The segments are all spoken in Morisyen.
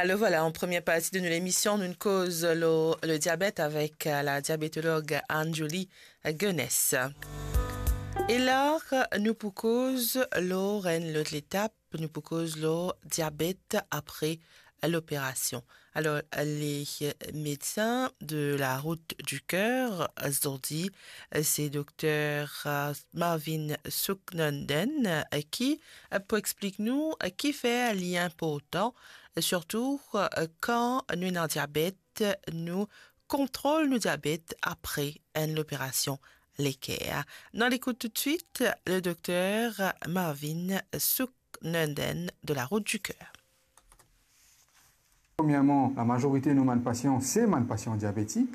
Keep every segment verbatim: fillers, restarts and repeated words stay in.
Alor vwala, an premie parti de nou lemision, nou koz lor le diabet avek, eh, la diabetolog Anne-Julie Guenesse. E la, nou pou koz lor enn lot letap, nou pou koz lor diabet apre loperasion. Alor, le medsin de la Route du Cœur, zordi, se dokter, eh, Marvin Sooknanden, eh, ki, eh, pou explik nou, eh, kifer li inportan, eh, sirtou, eh, kan nou ena diabet, nou kontrol nou diabet apre enn loperasion leker. Nou al ekout toutswit le dokter Marvin Sooknanden de la Route du Cœur. Premierman, lamazorite nou bann pasian, se bann pasian diabetik.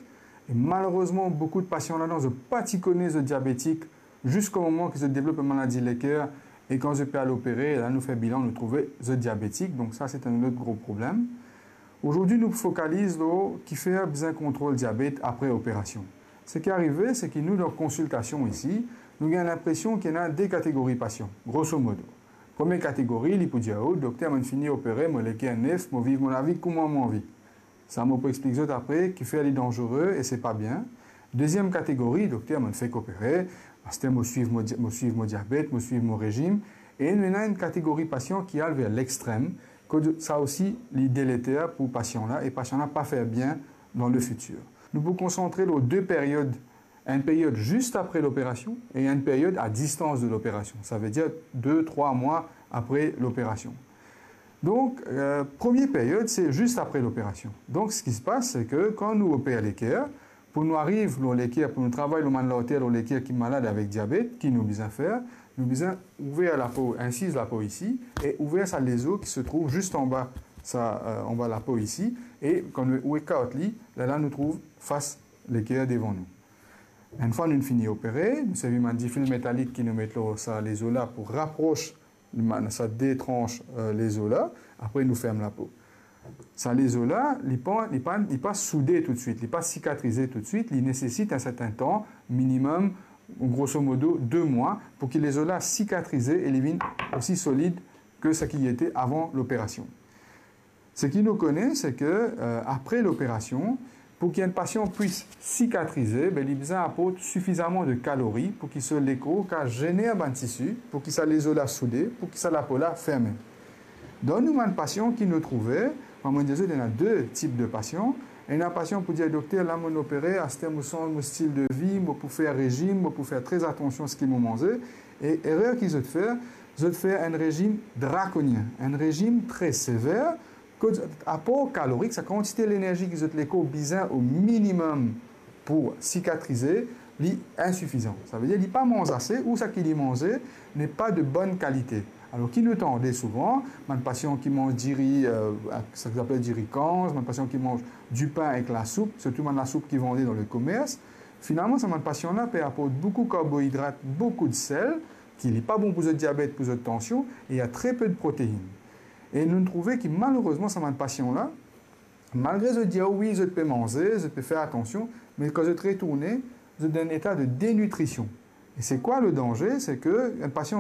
E malerezman, boukou de pasian ladan, zot pa ti kone zot diabetik ziska moman ki zot develop enn maladi leker. E kan zot pe al opere, la nou fer bilan, nou trouve zot diabetik. Donk sa, se enn lot gro problem. Zordi, nou fokaliz lor kifer bizin kontrol diabet apre operasion. Seki arive, se ki nou, dan konsiltasion isi, nou gagn linpresion ki ena de kategori pasian, grosso modo. Premie kategori, li pou dir, "O, dokter, mo'nn fini opere, mo leker nef, mo viv mo lavi kouma mo anvi." Sa mo pou explik zot apre, kifer li danzere e se pa bien. Deziem kategori, dokter, mo'nn fek opere, aster mo swiv mo di-, mo swiv mo diabet, mo swiv mo rezim. E nou ena enn kategori pasian ki al ver lextrem, kot sa osi, li deleter pou pasian la, e pasian la pa fer bien dan lefitir. Nou pou konsantre lor de period, enn period zis apre loperasion e enn period a distans de loperasion, savedir de, trwa mwa apre loperasion. Donk, eh, premie period, se zis apre loperasion. Donk, seki se pas, se ki kan nou oper leker, pou nou ariv lor leker, pou nou travay lor bann larter lor leker ki malad avek diabet, ki nou bizin fer? Nou bizin ouver lapo, insiz lapo isi, e ouver sa lezo ki se trouv zis anba sa, eh, anba lapo isi, e kan nou, ou ekart li, lerla nou trouv fas leker devan nou. Enn fwa nou fini opere, nou servi bann difil metalik ki nou met lor sa lezo la pou rapros sa de trans, eh, lezo la, apre nou ferm lapo. Sa lezo la, li pa, li pa, li pa soude toutswit, li pa sikatrize toutswit, li nesesit enn serten tan, minimem, grosso modo, de mwa, pou ki lezo la sikatrize e li vinn osi solid ki seki li ete avan loperasion. Seki nou kone, se ki, eh, apre loperasion, pou ki enn pasian pwis sikatrize, be, li bizin aport sifizaman de kalori pou ki so lekor kapav zener bann tisi, pou ki sa lezo la soude, pou ki sa lapo la ferme. Dan nou bann pasian ki nou trouve, kouma mo dir zot, ena de tip de pasian. Ena pasian pou dir, "Dokter, la mo'nn opere, aster mo sanz mo stil de vi, mo pou fer rezim, mo pou fer tre atansion seki mo manze." E erer ki zot fer, zot fer enn rezim drakonien, enn rezim tre sever, kot aport kalorik, sa kantite lenerzi ki zot lekor bizin o minimem pou sikatrize, li insifizan. Savedir li pa manz ase, ou seki li manze n'est pas de bonne qualité. Alor, ki nou tande souvan, bann pasian ki manz diri, eh, seki apel diri kanz, bann pasian ki manz dipin ek lasoup, sirtou bann lasoup ki vande dan lekomers, finalman, sa bann pasian la pe aport boukou karboidrat, boukou de sel, ki li pa bon pou zot diabet, pou zot tansion, e ena tre pe de protein. E nou trouve ki malerezman, sa bann pasian la, malgre zot dir, "Wi, zot pe manze, zot pe fer atansion," me kan zot retourne, zot dan enn eta de denitrision. E se kwa le danze? Se ki enn pasian